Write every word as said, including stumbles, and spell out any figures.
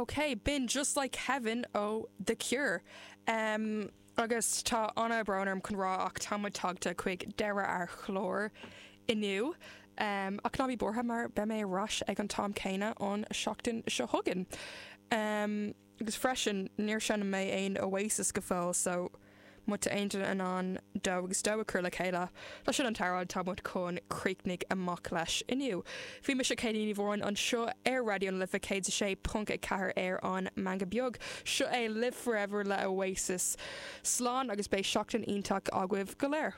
Ok, b'in Just Like Heaven ó The Cure. Um, agus tá an-bhrón orm chun rá ach tá muid tagtha chuig deireadh ar chlár inniu. Um, ach ná bí buartha mar beidh mé ar ais ag an t-am céanna an seachtain seo chugainn. Um, agus freisin níor sheinn mé aon Oasis go fóill so má tá aon duine in ann dó agus dó a chur le chéile, Tá sin an t-amhrán tá muid chun críochnú amach leis inniu. Bhí mise Céilíní Bhráin anseo ar Raidió na Life céad a sé ponc a ceathair ar an Meangadh Beag. Seo é Live Forever le Oasis. Slán agus beidh seachtain iontach agaibh go léir.